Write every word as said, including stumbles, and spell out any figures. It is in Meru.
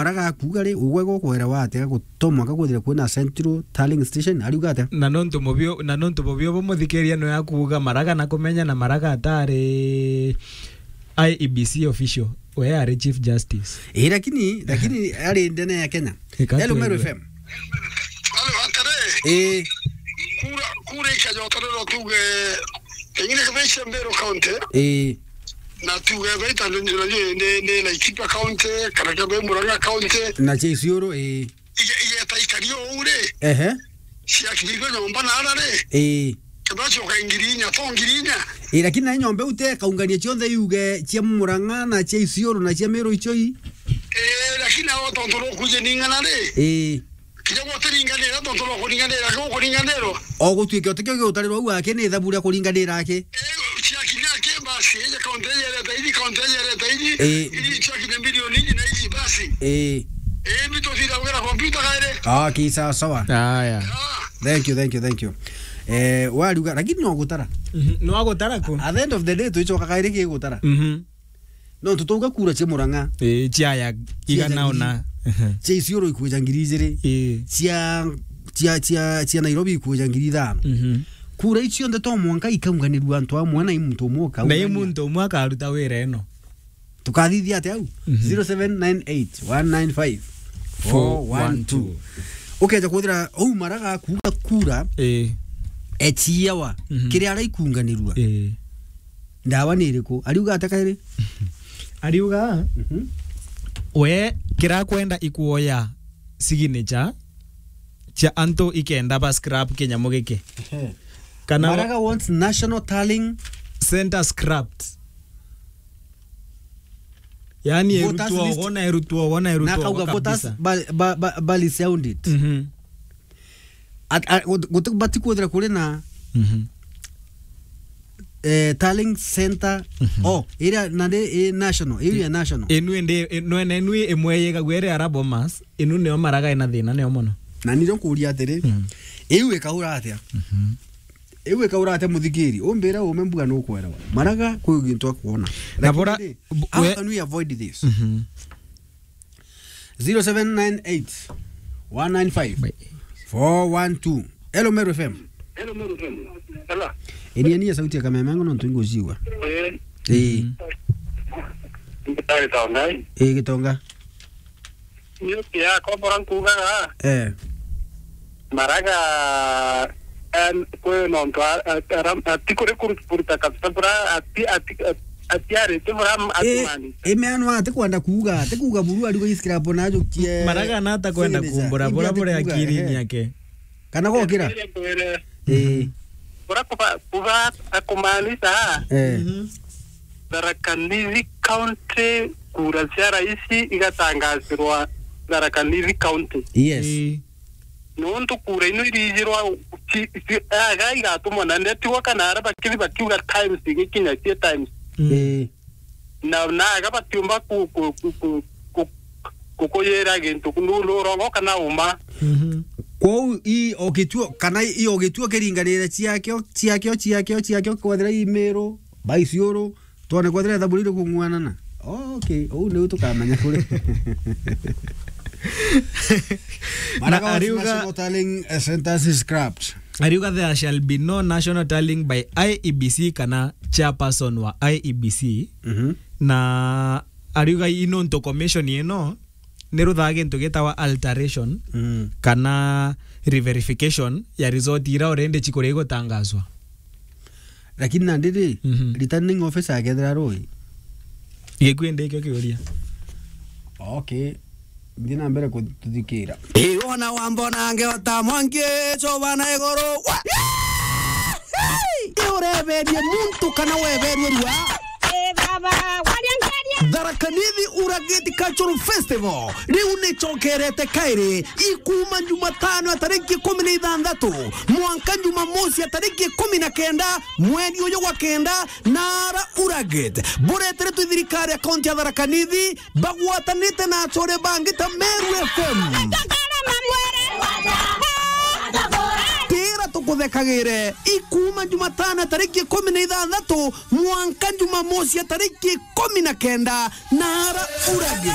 Maraga akuuga ri, ugwe gukwera wa atia guto mwanka kwithira kwina central tallying station, ariuga atia? Na nontu mubio, na nontu bubio bumuthikiria no akuuga Maraga na kumenya na Maraga atari I E B C official, we ari Chief Justice. Eh, lakini, lakini ari ndene ya Kenya. Hello, Meru F M. Halo, atare. Eh. Kura, kura ikajotorerwa tuge, pengine kama icio Meru County. Eh. Na tuge baita ni, ni, ni, ni Laikipia County, kana kama Murang'a County. Na cia Isiolo, eh. Ige-, igeta ikari uu ri. Ehe. Ciakinyithua nyomba naara ri. Eh. Kethira cioka ngiri inya, to ngiri inya. Eh, lakini na nyomba iu te kaungania cionthe iuge cia Murang'a na cia Isiolo na cia Meru icio i. Eh, lakini ao tontu rukuuje ning'ana ri. Eh. Kinya gutiringanira, tontu rukuringanira, gukuringanirwa. O gutuike utikio giutarirwa au aki ni ithabu ria kuringanira aki. Eh, ciakinya aki basi, ije kaunti iji ireta iji, kaunti iji ireta iji, eh, iji ciakinya milioni iji na iji basi. Eh. Eh, mbi tuthira gwira kompyuta kairi. Ah, ki sawa sawa. Aya. Ah. Thank you, thank you, thank you. Eh, wariuga, lakini no gutara. Mhm, no agutara ku? At the end of the day, twicoka kairi ki gutara. Mhm. No tutauga kura cia Murang'a. Eh, ciaya igana ona. Cia Isiolo ikwija ngiri ijiri. Eh. Cia, cia, cia, cia Nairobi ikwija ngiri ithano. Mhm. Kura icio cionthe to mwanka ikaunganirua antu amwe na i muntu umwe ukaungania. Na i muntu umwe akaruta wira ino. Tukathithia atia au? Mhm. Zero seven nine eight one nine five four one two. Ukeja kuthira au Maraga kuuga kura. Eh. Echiawa. Mhm. Kiria araikunganirua. Eh. Ndawa ni iriku? Ariuga atia kairi? Ariuga, mhm, we kirakwenda ikuoya signature cia antu ikenda ba scrap kinyamu giki. Ehe. Kana wa- Maraga wants national tallying center scrapped. Yani voters erutwo list. Wona erutwo, wona erutwo. Na akauga voters kabisa. Ba-, ba-, ba-, bali sound it. Mhm. At-, a-, gut-, gut-, bati kwithira kuri na, mhm, eh, tallying center. Mhm. Oh, iria na ndi, eh, national, iria national. Inu indi, inu ene, inu imwe yigagua iri ara Bomas, inu nio Maraga ina thina nio mono. Na niro nkuria atiri, mhm, iu ikaura atia? Mhm. Iu ikaura atia muthikiri? Umbira ume mbuga nukwerawa. Maraga kwi gintu akwona. Na bora, lakini ri, bu-, how we- can we avoid this? Mhm. Zero seven nine eight one nine five four one two. Hello, Meru F M. Hello, Meru F M. Hello. Enia, enia sauti ya kameme yangu, nontu inguciwa. Eh. Eh. Ndagitari Tongai. Eh, Gitonga. Niuti ya kombora nkugaga. Eh. Maraga, em, kwi nontu a-, a-, ara-, ati kuri kuru-, kuruta kabisa bura, ati, ati, ati, ati arite bura, m-, eh, atumani. Imeanwa ati kwenda kuuga, ati kuuga buru ariuga scrap na ajukie. Maraga na ata kwenda signature. Kumbura bura bure akiri, eh, yake. Kana gokira? Ere kwere. Eh. Bura kuba, kuba akumaanisha. Eh. Mhm. Tharaka Nithi County, kura cia raisi igatangazirwa Tharaka Nithi County. Yes. Eh. Nontu kura ino irijirwa ci-, ci-, aga igatumwa na ndetigwa kana ara bakithi bakiuga times igikinya cie times. Mm. Eh. Na, na aga batiumba ku-, ku-, ku-, ku-, ku-, kukuyira gintu ku-, nu-, nurongo kana uma. Mhm. Kwou i o gituo, kana i o gituo kiringanire ciakio, ciakio, ciakio, ciakio, kwethira i Meru, ba Isiolo, twone kwethira ithabu riri kung'uanana. Okay, uu niu tukamenya kuri. Na Maraga wants ariuga national tallying, eh, centers scrapped. Ariuga there shall be no national tallying by I E B C kana chairperson wa I E B C. Mhm. Na ariuga i nontu commission ino ni ruthaa gintu gitawa alteration, mm, kana reverification ya result ira already chikuria igutangazwa. Lakini nandi ri, mhm, returning officer akethira rui? Gikuyu ndi ikio kiuria. Okay. Nthi na mbere kututhikira. Ii, wona wambona ngeota mwangi, coba na iguru. Wa-, ii, ureberie muntu kana weberue rua? Ii, baba, waria ngeria. Tharaka Nithi Uragiti Cultural Festival riu nicokerete kairi, ikuuma Jumatano ya tariki ikumi na ithanthatu mwanka Jumamosi ya tariki ikumi na kenda mweri uyu gwa kenda, naara Uragit bureteretwe i thirikari ya kaunti ya Tharaka Nithi, bagwatanite na achore bangi ta Meru F M. Tira tukuthekagire, ikuuma Jumatano ya tariki ikumi na ithanthatu mwanka Jumamosi ya tariki ikumi na kenda, naara Uragit.